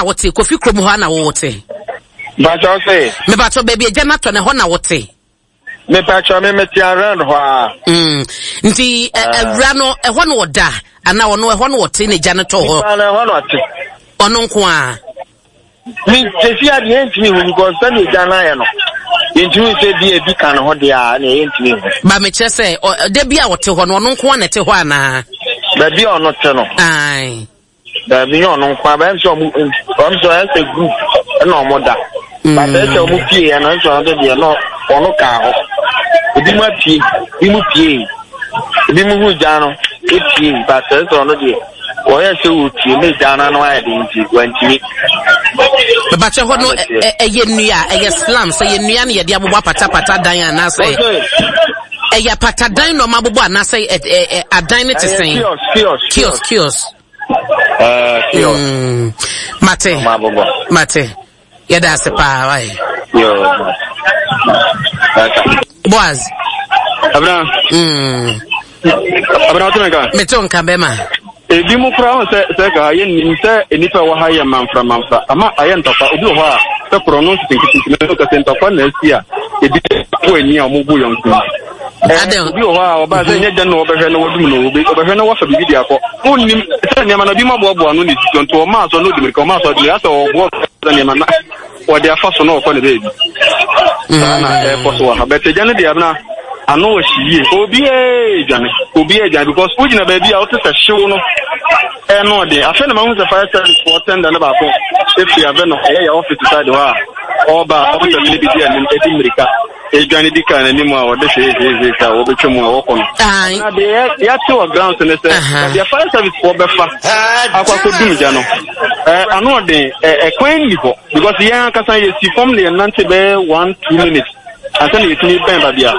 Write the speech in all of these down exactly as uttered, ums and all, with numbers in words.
na wote? Kofi kurom hɔ na wote? Mpakyɛw sɛ. Mepakyɛw baabi agya no atɔ no, ɛhɔ na wote? Mepakyɛw me mete around hɔ a. Mm. Nti awura no ɛhɔ na ɔda anaa ɔno ɛhɔ na ɔte na agya no tɔ hɔ? Nipa no ɛhɔ na ɔte. Ɔno nko a. Mi sisi adeɛ yɛntumi hu because sɛdeɛ agya no ayɛ no yɛntumi sɛ bi ebi ka ne ho deɛ a na yɛntumi hu. Ba mekyerɛ sɛ da bi a ɔte hɔ no ɔno nko a na ɛte hɔ anaa? Baabi a ɔno te no. Ae. Baabi nyɛ ɔno nko a bɛyɛ sɛ ɔmo ɔmo sɛ ɔyɛ sɛ group ɛna ɔmo da. Bàtà ɛsɛ ɔmo pie yɛ no ɛsɛ ɔno deɛ no ɔno kaa hɔ. Ebi mu apue, ebi mu pie, ebi mu hu gya no epie bàtà ɛsɛ ɔno deɛ wɔyɛ sɛ wɔpie ne gya no ano ayɛ den nti wantumi. Bàtà hɔ no ɛyɛ nnua ɛyɛ slum sɛ ɛyɛ nnua no yɛde abobɔ apatapata dan anaasɛ ɛyɛ apatadan na ɔmo abobɔ anaasɛ adan no te sɛn? Kiosk kiosk kiosk. Kiosk. Mm. Mate. Mate. Yɛda ase paa wae. Boaz. Abena. Mm. Abena wote me nka? Mete wo nka bɛma. Ebi mu koraa ho sɛ sɛ ka yɛnnim sɛ nnipa ɛwɔ ha yɛ manfra manfra ama ayɛ ntɔkwa. Obi wɔ hɔ a sɛ korɔ no nketenkete no kɛsɛ ntɔkwa na asi a ebi kɔ ani a wɔn bu yɔnko. Obi wɔ hɔ a ɔbaa sɛ nyɛ gya na ɔbɛhwɛ na wadum no, obi ɔbɛhwɛ na wafa biribi de akɔ. Wonnim sɛ nneɛma no bi mu aboaboa no na esisi nti ɔmaa so na odi mirika, ɔmaa so ɔde mirika asɛ ɔboa nneɛma na wɔde afa so na ɔkɔ ne baabi. Saa na ɛkɔ so wɔ ha. Bɛtɛ gya no deɛ abena ano wɔ hye yie. Obiara dwane, obiara dwane because wogyina baabi a wote sɛ hyew no ɛno ɔden. Afei na mahu sɛ fire service foɔ tender no baako efiri abɛ no ɛyɛ yɛ office side hɔ a ɔreba a officers no bi di anim edi mirika. Edwane di kaa n'anim a wɔde hwee hwee hwee a wɔbɛtwa mu a wɔkɔ no. Na deɛ yɛate wɔ grounds ne sɛ baabi a fire service foɔ bɛfa akɔ akɔdum gya no ano ɔden, ɛkwan nni hɔ because yɛn ankasa yɛsi fam na yɛnante bɛyɛ one two minutes ansa na yɛtumi bɛn baabi a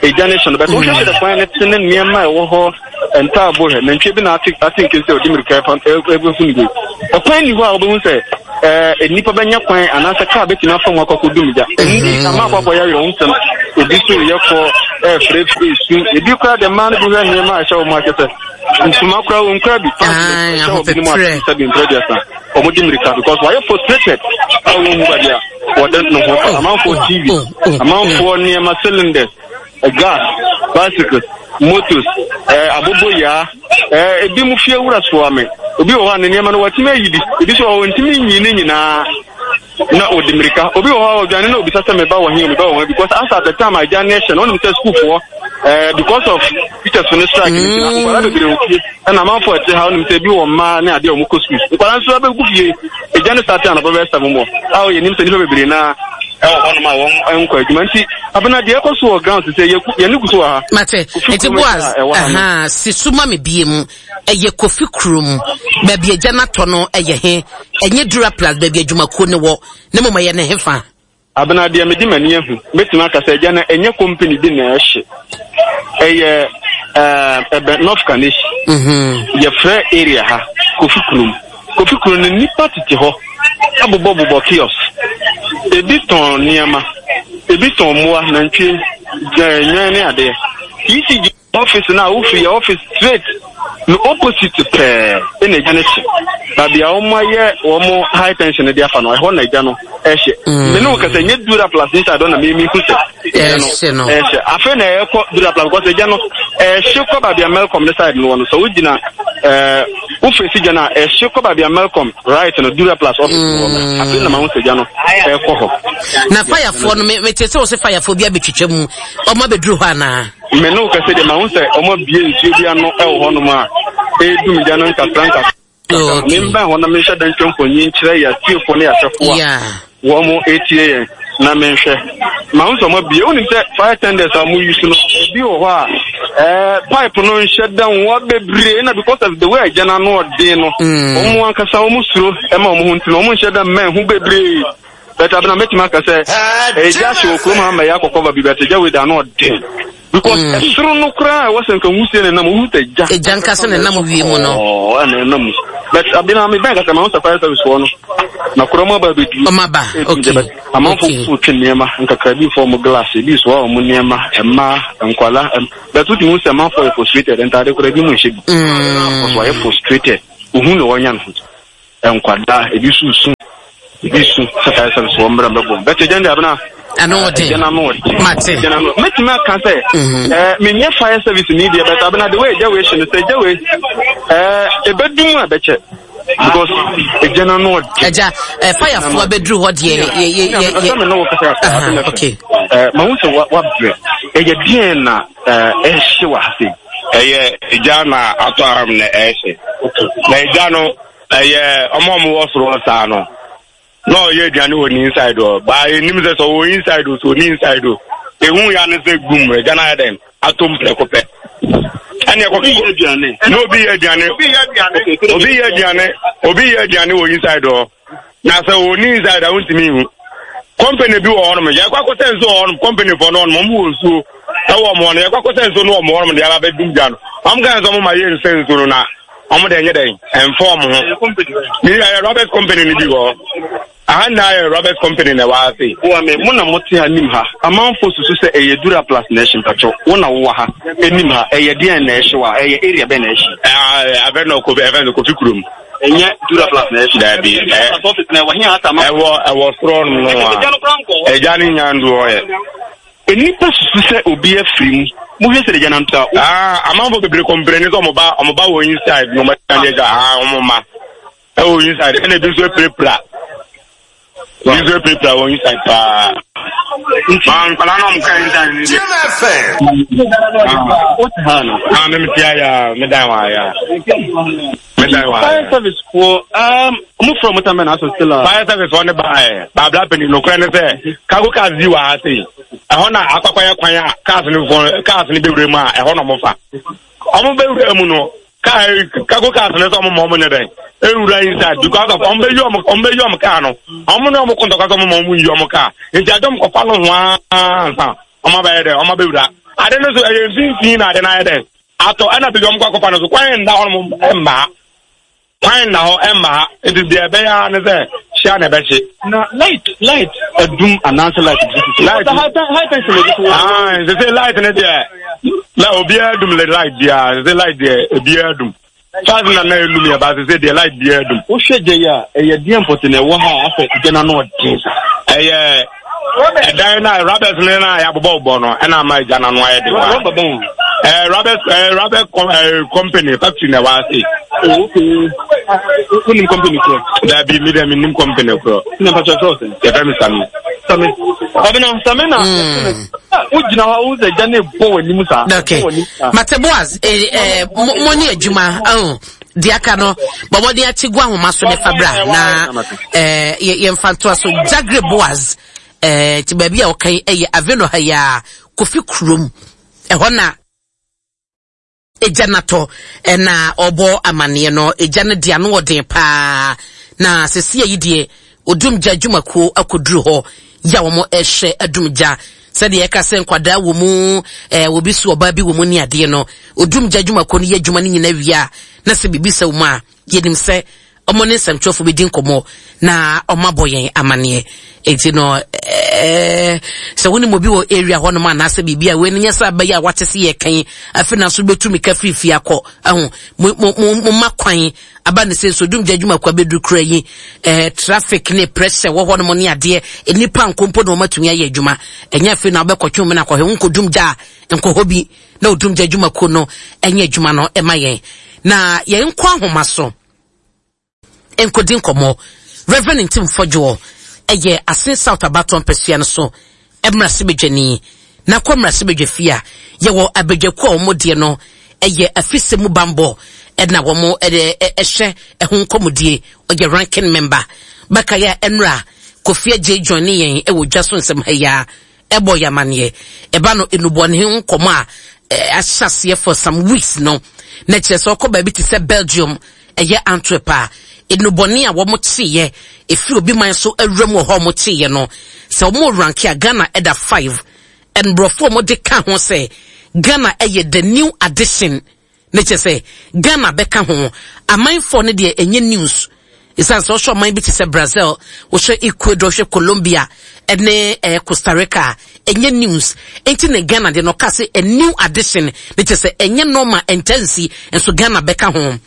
egya no hye no. Bɛtɛ wohwɛ sɛ kwan no te ne nneɛma a ɛwɔ hɔ ntaabo hwɛ nantwie bi na ate ate nkem sɛ ɔde mmirika ɛfa ɛbɛfu ne bi. Ɛkwan nni hɔ a wobɛhu sɛ ɛɛ nnipa bɛnya kwan anaasɛ kaa bɛtumi afa mu akɔ akɔdum gya. Ɛnni ama akɔ akɔyɛ awerɛhosɛm. Ebi so yɛ kɔ ɛɛfrɛfrɛ su, ebi koraa de mmaa no bi hwɛ nneɛma a ɛhyɛ wɔn akyɛ sɛ ntoma koraa wɔn kura bi pants ɛhyɛ wɔn binom ase sɛ bi mpere aduasa wɔn di mmirika because wɔayɛ frustrated a wɔn hu baabi a wɔde ne ho fa. Amanfoɔ T V, amanfoɔ nneɛma, cylinders, gas, bicycles, motos, ɛɛ aboboyaa, ɛɛ ebi mu fie wura soa me. Obi wɔ hɔ a ne nneɛma no watumi ayi bi, ebi nso wɔ hɔ ntumi nyi ne nyinaa na ɔdi mmirika. Obi wɔ hɔ a ɔdwane na obisa sɛ meba wɔ he o, meba wɔ he, because as at the time a agya ne ɛhyɛ no ɔnim sɛ sukuufoɔ ɛɛ because of teachers no strike no nti na nkwadaa bebree wɔ fie ɛna amanfoɔ ɛte ha ɔnim sɛ ebi wɔ mmaa ne adeɛ a wɔn kɔ sukuu, nkwadaa nso abɛgu fie. Egya no start anɔpa bɛyɛ seven bɔ a ɔyɛ nim sɛ nnipa bebree naa ɛwɔ hɔnom a wɔn nkɔ adwuma nti abena deɛ ɛkɔ so wɔ ground sɛ yɛ yɛne gu so wɔ ha. Mate nti Boaz aha si so ma me bie mu. Ɛyɛ Kofi kurom baabi agya no atɔ no, ɛyɛ he? Ɛnyɛ Dura Plus baabi adwumakuo no wɔ ne mmom ɛyɛ ne hefa? Abena deɛ mede m'ani ahu mɛtumi aka sɛ agya no ɛnyɛ company bi na ɛhye, ɛyɛ ɛbɛn North Kaneshie. mm-hmm. Yɛfrɛ area ha Kofi kurom. Kofi kurom no nnipa tete hɔ abobɔbobɔ kiosk, ebi tɔn nneɛma, ebi tɔn mmoa, nantwie, nnwan ne adeɛ. E C G office no a wofiri yɛ office straight no opposite pɛɛ ɛna agya no hye. Baabi a wɔn ayɛ wɔn high tension no de afa no, ɛhɔ na agya no ɛhyɛ. Me ne wo kasa nyɛ Dura Plus inside hɔ na mimi hu sɛ ɛhyɛ no. Ɛhyɛ afei na ɛkɔ Dura Plus because agya no ɛhye kɔ baabi a Melcom ne side no wɔ no. Sɛ wogyina ɛɛ wofesi gya no a ɛhye kɔ baabi a Melcom right no Dura Plus office no wɔ no. Afei na ma ho sɛ gya no ɛkɔ hɔ. Na fayafoɔ no mete sɛ wo sɛ fayafoɔ bi abɛtwitwa mu, ɔmo abɛduru hɔ anaa? Me ne wo kasa deɛ ma ho sɛ ɔmo abie nsuo bi ano ɛwɔ hɔnom a ɛredum gya no nkakra nkakra. Membɛn hɔ na menhyɛ da ntwa mfonyin nkyerɛ yɛ atiefoɔ ne yɛahwɛfoɔ a wɔn mo etie yɛn na menhwɛ. Ma ho sɛ ɔmo abie. Wonim sɛ fire tenders a ɔmo use no ebi wɔ hɔ a ɛɛ pipe no nhyɛ da nwa bebree na because of the way agya no ano ɔden no wɔn ankasa wɔn suro ɛma wɔn ho nti no wɔn nhyɛ da mmɛn ho bebree. But abena mɛtumi aka sɛ ɛgya hyɛ wɔ kurom ha ma ɛyɛ akɔkɔba bi, but ɛgya wei da ano ɔden because ɛsoro no koraa ɛwɔ sɛ nka nwusie ne nam wohu sɛ gya ɛgya nkasa ne nam wie mu no ɛna ɛnam mu. But abena me bɛn kasa ma ho sɛ fire service foɔ no na kora mu aba abɛduru. Ɔmo aba, okay. Amanfo so twe nneɛma nkakra bi fɔ ɔmo glass ebi so a ɔmo nneɛma mmaa nkwala, but wotumi hu sɛ amanfo yɛ frustrated, ntaade koraa ebi mu nhyɛ bi. Ɔso ayɛ frustrated, ohun na wɔnya no ho nkwadaa ebi so su. Ebi su sɛ fire service wɔ mmerɛ mbɛbɔ. Bɛtɛ gya no deɛ abena. Ano ɔden. Gya no ano ɔden. Mate. Gya no ano. Mɛtumi aka sɛ ɛɛ menyɛ fire service ni deɛ bɛtɛ abena de wei gya wei hye no sɛ gya wei ɛɛ ebɛdum a bɛkyɛ. Because gya no ano ɔden. Ɛgya ɛɛ firefoɔ abɛduru hɔ deɛ yɛ yɛ yɛ yɛ. Ɛsɛ me ne wo kasa kasa. Okay. Ɛɛ mahu sɛ wa wabrɛ. Ɛyɛ deɛn na ɛɛ ɛhye wɔ ha sei? Ɛyɛ egya na atɔ aham na ɛhye. Na egya no ɛyɛ ɔmo a ɔmo wɔ soro hɔ saa no na ɔyɛ aduane wɔ ne inside hɔ baa enim sɛ sɛ ɔwɔ inside o sɛ ɔni inside o ehu ya ne sɛ gum egya no ayɛ dɛn atom prɛko pɛ ɛne ɛkɔ Obi yɛ aduane. Na obi yɛ aduane, obi yɛ aduane, obi yɛ aduane wɔ inside hɔ. Na sɛ ɔni inside a wontumi nhu. Company bi wɔ hɔnom, yɛkɔ akɔsɛ nsuo wɔ hɔnom, company fɔ no hɔnom, ɔmo wɔ nsuo ɛwɔ ɔmo hɔ no, yɛkɔ akɔsɛ nsuo no wɔ ɔmo hɔnom de aba abɛdum gya no. Ɔmo ka sɛ ɔmo ma yɛ nsɛ nsuo no na ɔmo de ɛnyɛ dɛn, ɛmfa ɔmo ho. Ne yɛ Roberts company no bi wɔ hɔ. Aha nyinaa yɛ Roberts company na ɛwɔ ha sei. Boa me, mo na mote ha nim ha. Amanfoɔ susu sɛ ɛyɛ Duraplast na ɛhye mpakyɛw. Wo na wowɔ ha nim ha. Ɛyɛ deɛn na ɛhye wɔ ha? Ɛyɛ area bɛn na ɛhye? Ɛɛ, abɛ na Kofi, ɛfɛ no Kofi kurom. Ɛnyɛ Duraplast na ɛhye? Daabi. Duraplast office na ɛwɔ he a asa Ɛwɔ, ɛwɔ soro no a. Ɛgya no koraa nkɔ hɔ. Ɛgya no nya ndu hɔ yɛ. Nnipa susu sɛ obi afiri mu. Mohwɛ sɛ ɛgya no nto a. Ah, amanfoɔ bebree kɔmpleni sɛ ɔmo ba, ɔmo ba wɔ inside na ɔmo agya, ah, ɔmo ma. Ɛwɔ inside ɛna ebi nso apirapira, ebi nso apirapira wɔ inside paa. Maa nkwadaa na ɔmo ka inside ni deɛ. Ah, mi mi ti aya, mi dan wa aya, mi dan wa. Fire service foɔ, um, ɔmo fura ɔmo tan bɛ na asɔ still a. Fire service foɔ ne ba yɛ, baabla panyin nokorɛ ne sɛ cargo cars bi wɔ ha sei, ɛhɔ na akɔkɔ yɛ kwan a cars ne fɔ cars ne bɛwura mu a ɛhɔ na ɔmo fa. Ɔmo bɛwura mu no. Kaa cargo cars ne sɛ ɔmo ma ɔmo nyɛ dɛn ewura inside because of ɔmo bɛyi ɔmo ɔmo bɛyi ɔmo kaa no ɔmo ne ɔmo ko ntɔkwa sɛ ɔmo ma ɔmo yi ɔmo kaa nti ade ɔmo kɔfa no ho ansa ɔmo abɛyɛ dɛn ɔmo abɛwura ade no so ɛyɛ mfimfini na ade no ayɛ dɛn atɔ ɛna baabi ɔmo kɔ akɔfa no so kwan nda hɔ nom ɛmma kwan nda hɔ ɛmma ha nti deɛ ɛbɛyɛ ara ne sɛ hyia na ɛbɛhye. Na light light adum anaasɛ light bi sisi. Light high tension na ebi so. Ah, sese light ne deɛ na obiara dum le light biara sese light deɛ obiara dum. Charge na na enum yɛ ba sese deɛ light biara dum. Wohwɛ gya yi a ɛyɛ deɛ mpɔte na ɛwɔ ha a afɛ gya na ano ɔden sa. Ɛyɛ ɛdan na rubbers ne na yɛabobɔ bɔ no ɛna ama gya na ano ayɛ den. Rubber bɛn? Ɛɛ rubbers ɛɛ rubber com ɛɛ company factory na ɛwɔ ase. Oh, okay. Wonim company korɔ? Dabi mi dɛ mi nim company korɔ. Na mpakyɛ fɛ ɔsɛn? Yɛfrɛ mi Sami. Sami. Ɔbɛna Sami na wogyina hɔ a wohu sɛ gya no bɔ w'anim saa. Okay. Mate Boaz, eh, eh, mo ne adwuma, oh, deɛ aka no, bɔ mmɔden akyi gu ahoma so ne fa bra na eh, yɛmfa ntoa so. Jagre Boaz, eh, ti baabi a wɔka yi ɛyɛ Aveno ha yi a, Kofi kurom, ɛhɔ na egya no atɔ na ɔbɔ amaneɛ no, egya no deɛ ano ɔden paa, na sesia yi deɛ odumgya adwumakuo akɔduru hɔ yɛ a wɔn ɛhwɛ adumgya sɛdeɛ ɛka sɛ nkwadaa wɔ mu, ɛɛ obi so ɔbaa bi wɔ mu ne adeɛ no, odumgya adwumakuo no yɛ adwuma no nyinaa wie a, na sɛ biribi sɛ wɔn a, yɛnim sɛ wɔn ne nsɛmtwerɛfo bɛdi nkɔmmɔ na wɔabɔ yɛn amanneɛ. Enti no, ɛɛ sɛ wonim obi wɔ area hɔnom anaasɛ biribi a wei no nyɛ sɛ abɛyɛ a wate se yɛka yi afei na so bɛtu mika firi fie akɔ ahu mo mo mo mo ma kwan aba ne sɛ nso dumgya adwuma kwa bɛduru kura yi ɛɛ traffic ne pressure wɔ hɔnom ne adeɛ nnipa nkompo na wɔatumi ayɛ adwuma ɛnyɛ afei na wobɛkɔtwe mu na akɔhwɛ wo nkɔdumgya a nkɔhɔ bi na odumgya adwumakuo no ɛnyɛ adwuma no ɛma yɛn na yɛn nkɔ ahoma so nkɔdi nkɔmmɔ. Reverend Ntim Fɔdwoɔ ɛyɛ Asin South abatoɔ mpasua no so mmarahyɛbadwani. Na kɔ mmarahyɛbadwa fie a yɛwɔ abadwakuo a wɔn deɛ no ɛyɛ afisɛ mu bambɔ ɛna wɔn ɛde ɛhyɛ ɛho nkɔmmɔdie. Ɔyɛ ranking member. Bɛka yɛ ɛnora Kofi Adjei join ne yɛn ɛwɔ dwa so nsɛm ha yi a ɛbɔ yɛ amaneɛ. Ɛba no nnubɔne ho nkɔmmɔ a ahyɛ aseɛ for some weeks no, na kyerɛ sɛ ɔkɔ baabi te sɛ Belgium, ɛyɛ Antwerp a, nnubɔne a wɔn kyeeɛ ɛfiri obi man so awura mu wɔ hɔ a wɔn kyeeɛ no, sɛ wɔn ranke a Ghana ɛda five. Ɛnborɔfo a wɔde ka ho sɛ Ghana ɛyɛ the new addition, ne kyerɛ sɛ Ghana bɛka ho. Amanfoɔ no deɛ ɛnyɛ news. Ɛsiane sɛ wohwɛ ɔman bi te sɛ Brazil, wohwɛ Ecuador, wohwɛ Colombia ɛne eh, Costa Rica a, ɛnyɛ news. Enti ne Ghana deɛ no ɔka sɛ a new addition, ne kyerɛ sɛ ɛnyɛ normal, ɛnkyɛ nso Ghana bɛka ho.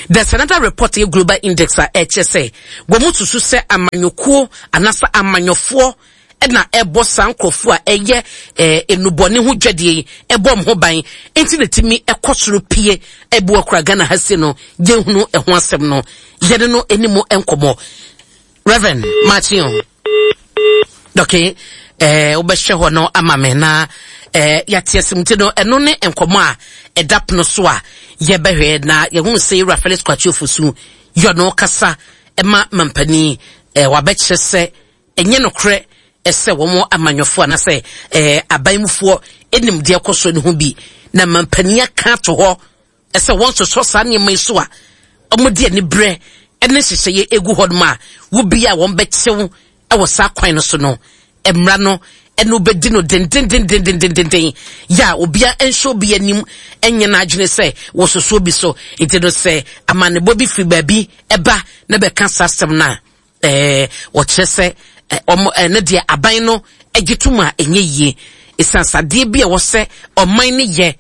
There's another report yɛ Global Index a ɛkyerɛ sɛ wɔn mu susu sɛ amanyɔkuo anaasɛ amanyɔfoɔ ɛna ɛbɔ saa nkurɔfoɔ a ɛyɛ ɛɛ enubɔne ho dwadie yi ɛbɔ wɔn ho ban, nti na timi ɛkɔ soro pie ɛbu akora Ghana ha si no yɛhunu ɛho asɛm no yɛne no anim nkɔmɔ. Reverend Martin, okay, ɛɛ wobɛhwɛ hɔ no ama me na ɛɛ yɛate asɛm ti no ɛno ne nkɔmɔ a ɛda pono so a yɛbɛhwɛ na yɛhunu sɛ Ewura Felix Kwakye Ofosu yɛ ɔno kasa ɛma mampanin ɛɛ wabɛkyerɛ sɛ ɛnyɛ nokorɛ ɛsɛ wɔn amanyɔfoɔ anaasɛ ɛɛ aban mufoɔ ɛnim deɛ ɛkɔ so no ho bi na mampanin aka ato hɔ ɛsɛ wɔn sosɔ saa nneɛma yi so a wɔn de ani berɛ ɛne nhyehyɛeɛ egu hɔ nom a wobi a wɔn bɛkyew ɛwɔ saa kwan no so no mmara no ɛno bɛdi no dendendendendendenden yɛ a obia nhyɛ obi anim ɛnyɛ n'adwene sɛ wɔsoso bi so. Nti no sɛ amanebɔ bi firi baabi ɛba na bɛka saa asɛm no a ɛɛ wɔkyerɛ sɛ ɔmo ɛne deɛ aban no agye tom a ɛnyɛ yie ɛsiane sadeɛ bi a wɔsɛ ɔman no yɛ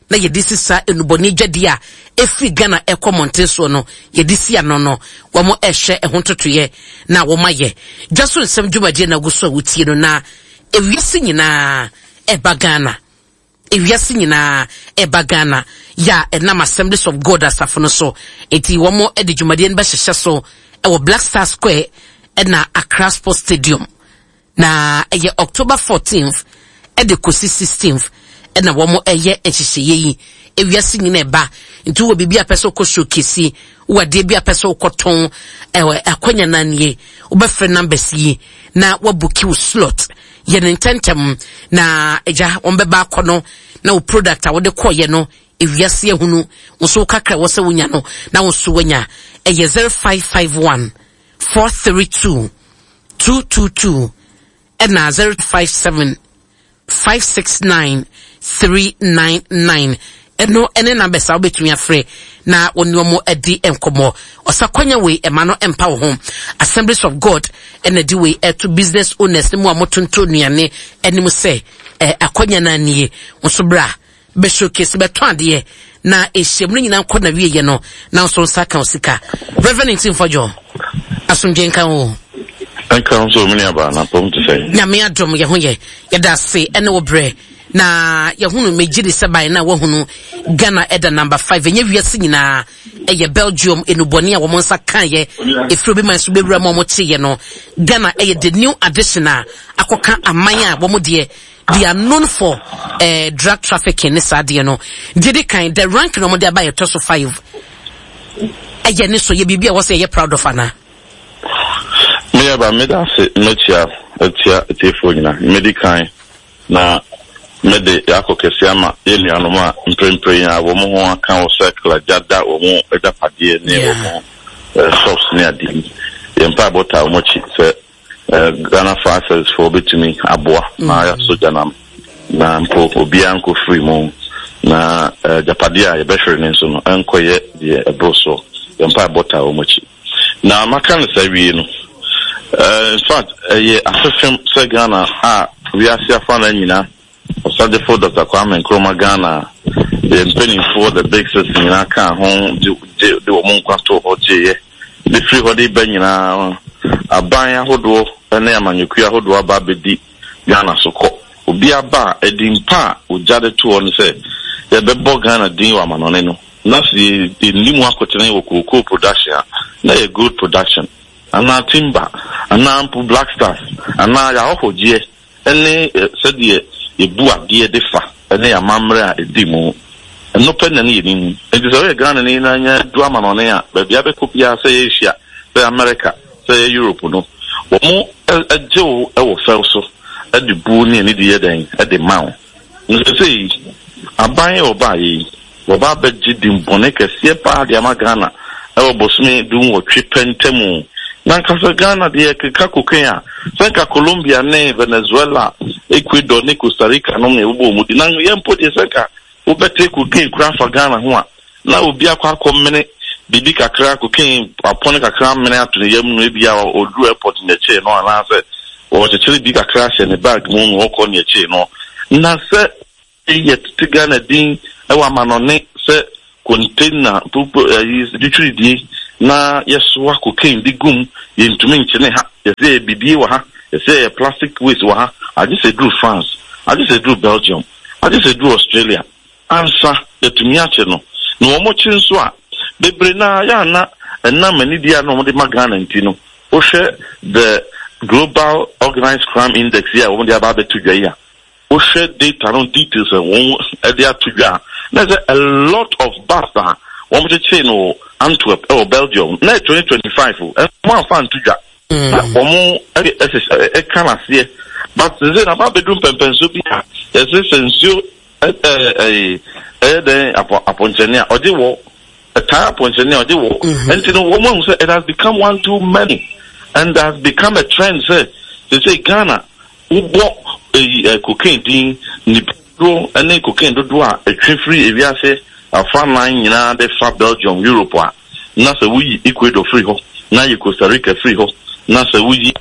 na yɛde si saa enubɔne dwadie a ɛfiri Ghana ɛkɔ mmɔnten soɔ no yɛde si ano no wɔn ɛhwɛ ɛho ntotoyɛ na wɔn ayɛ dwa so nsɛm dwumadie na agu so a wotie no na ewiase nyinaa ɛba Ghana, ewiase nyinaa ɛba Ghana yɛ a ɛnam Assemblies of God asafo no so eti wɔn de dwumadie no bɛhyehyɛ so ɛwɔ Black Star Square ɛna Accra Sports Stadium na ɛyɛ October fourteenth ɛde kɔsi sixteenth ɛna wɔn ɛyɛ nhyehyɛeɛ yi. Ewiase nyinaa ɛba nti wɔ biribi a pɛ sɛ wokɔ showcase, wɔ adeɛ bi a pɛ sɛ wokɔtɔn ɛwɔ akwanya nan nie, wobɛfrɛ numbers yi na wabook wo slot yɛ ne ntɛntɛm na agya wɔn bɛba akɔ no na wo product a wode kɔɔyɛ no ewiase ehunu nso kakra wɔ sɛ wonya no na wo nso wanya. Ɛyɛ zero five five one four three two two two two ɛna zero five seven five six nine three nine nine ɛno ɛne numbers a wobɛtumi afrɛ na wɔne wɔn adi nkɔmmɔ. Ɔsakwanya wei ɛma no ɛmpa wo ho. Assemblies of God ɛna di wei ɛto business owners ne mu a motonto nnuane anim sɛ ɛ akwanya no anie nso bra bɛ showcase bɛtɔn adeɛ na ehyiam no nyinaa nkɔ na wieɛ no na nso nsa ka sika. Reverend Ntimfo asomdwe nka wo. Nka nso mene aba na pɔm te sɛ Nyame adom yɛ ho yɛ yɛda ase ɛne wo brɛ na yɛhunu megye di sɛ ban na wahunu Ghana ɛda number five ɛnyɛ wiase nyinaa ɛyɛ Belgium enubɔne a wɔn nsa kaeɛ efiri obi man so bɛwura mu a wɔn teeɛ no Ghana ɛyɛ the new addition a akɔka aman a wɔn deɛ they are known for eh, drug trafficking ne saa deɛ no deɛ di kan the rank na wɔn de aba yɛ tɔ so five ɛyɛ ne so yɛ biribi a wɔsɛ yɛ proud of ana. Meyɛ ba meda ase mɛkyia atia atiefoɔ nyinaa. Medi kan na mede yɛakɔ kɛse ama yɛn nuanom a mprempren a wɔn ho aka wɔ circle agya da wɔn agyapadeɛ ne wɔn shops ne adeɛ yi. Yɛn mpaebɔ taa wɔn akyi sɛ Ghana Fire Service foɔ bɛtumi aboa na yɛasɔ gya nam na mpo obiara nkɔ firi mu na agyapadeɛ a yɛbɛhwere ne nso no ɛnkɔyɛ deɛ ɛboro soɔ. Yɛn mpaebɔ taa wɔn akyi. Na maka no saa wie no, in fact ɛyɛ asefem sɛ Ghana a wiase afa na nyinaa ɔsagyefo Doctor Kwame Nkrumah Ghana yɛ mpanimfoɔ the big six nyinaa ka ho de de de wɔn nkwa to hɔ gyeeɛ de firi hɔ de ba nyinaa aban ahodoɔ ne amanyɔkuo ahodoɔ aba abɛdi Ghana so kɔ. Obi aba a ɛdi mpa a ogya de to hɔ no sɛ yɛbɛbɔ Ghana din wɔ amanɔne no na sɛ yɛnni mu akotene wɔ cocoa production a na yɛ gold production anaa timber anaa mpo Black Stars anaa yɛahɔhɔgyeɛ ɛne sɛdeɛ yɛbu adeɛ de fa ɛne amammerɛ a ɛdi mu ɛno pɛ na ne yɛnim. Nti sɛ woyɛ Ghana ni na nya du amanɔne a baabi abɛkɔ biara sɛ yɛ Asia, sɛ yɛ America, sɛ yɛ Europe no wɔn agye wo wɔ fɛw so ɛde bu ne anidi yɛ dɛn ɛde ma wo. Nsɛsɛ aban ɔbaa yi wɔba abɛgye dimbɔne kɛseɛ paa de ama Ghana ɛwɔ bosome du nwɔtwe pɛ ntamu. Na nkasa Ghana deɛ keka cocaine a sɛ nka Colombia ne Venezuela, Ecuador ne Costa Rica nom na ɛbobɔ wɔn di na yɛn mpo deɛ sɛ nka wobɛte cocaine kura afa Ghana ho a na obi akɔ akɔmene Biribi kakra, cocaine apɔne kakra amene ato ne yam no, ebi a ɔduru airport na ɛkyee no, anaasɛ wɔkyekyere bi kakra ahyɛ ne bag mu na ɔkɔ na ɛkyee no. Na sɛ yɛtete Ghana din wɔ amanɔne sɛ container pupu ɛyi twitwiridie na yɛsoa cocaine de gum, yɛntumi nkyene ha. Yɛsɛ yɛ bidie wɔ ha, yɛsɛ yɛ plastic waste wɔ ha, agye sɛ duru France, agye sɛ duru Belgium, agye sɛ duru Australia ansa yɛtumi akye no. Na wɔn kye nso a, bebree naa yɛ ana ɛnam anidie a na wɔde ma Ghana nti no, wohwɛ the Global Organized Crime Index yi a wɔde aba abɛto dwa yi a, wohwɛ data no details a wɔn de ato dwa a, na sɛ a lot of bust a wɔn kyekyere no wɔ Antwerp ɛwɔ Belgium na twenty twenty five o, ɛnso wɔn afa nto dwa na wɔn ɛde ɛka n'aseɛ. But sɛ na aba abɛduru mpɛmpɛnso bi a yɛsɛ sɛ nsuo ɛɛ ɛɛ ɛyɛ dɛn apɔ apɔnkyɛne a ɔgye wɔ ɛtaa apɔnkyɛne a ɔgye wɔ. Nti no wɔn ahu sɛ it has become one too many and has become a trend sɛ sɛ Ghana wobɔ eyi ɛ cocaine din, nipa dodoɔ ne cocaine dodoɔ a ɛtwe firi ewiase afa nan nyinaa de fa Belgium, Europe a, na sɛ woyi Ecuador firi hɔ, na yi Costa Rica firi hɔ, na sɛ woyi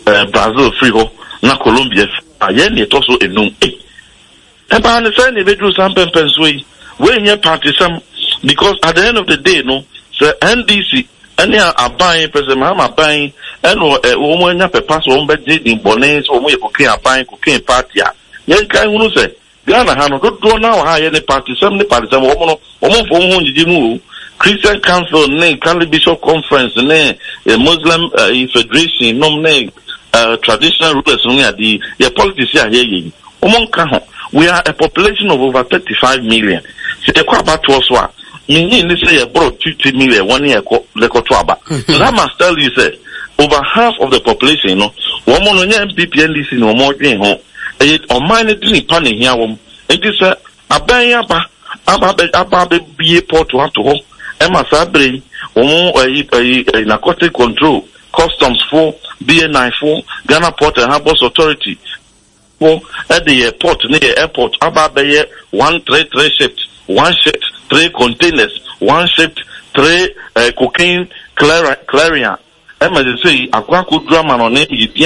ɛɛ Brazil firi hɔ, na Colombia firi hɔ a, yɛn na ɛtɔ so enum. Ei, ɛbaa ne sɛ na ebeduru saa mpɛmpɛnsoɔ yi, wei nyɛ party sɛm, because at the end of the day no, sɛ N D C ɛne aban, President Mahama aban, ɛna ɛ wɔn anya pɛpa sɛ wɔn bɛgye din bɔne sɛ wɔn yɛ cocaine aban, cocaine party a, yɛn kan hunu sɛ Ghana ha no, dodoɔ naa wɔ ha yɛ ne party sɛm ne party sɛm. Wɔn no, wɔn mfo wɔn ho ngyegye mu o. Christian Council ne Catholic Bishop Conference ne eh, Muslim eh, Federation nom ne uh, traditional rulers nom ne ade yɛ politics a yɛyɛ yi, wɔn nka ho. We are a population of over thirty five million. Sɛ yɛkɔ abatoɔ so a, menyi ne sɛ yɛborɔ fifty million wɔn ne yɛkɔ yɛkɔto aba. So that must tell you sɛ over half of the population no, wɔn no nyɛ N P P, N D C na wɔn dwen ho. Ɛyɛ ɔman no de nipa na ehia wɔn. Nti sɛ aban aba aba abɛ aba abɛbie port ato hɔ ɛma saa bere yi wɔn ɛyi ɛyi ɛyi narcotic control, customs fo, B N I fo, Ghana Port and Harbours Authority fo ɛde yɛ port ne yɛ airport aba abɛyɛ one three three shift, one shift three containers, one shift three uh, cocaine clearing clearing a ɛma sɛ sɛ yi akɔ akɔduru ama no ne yɛdi.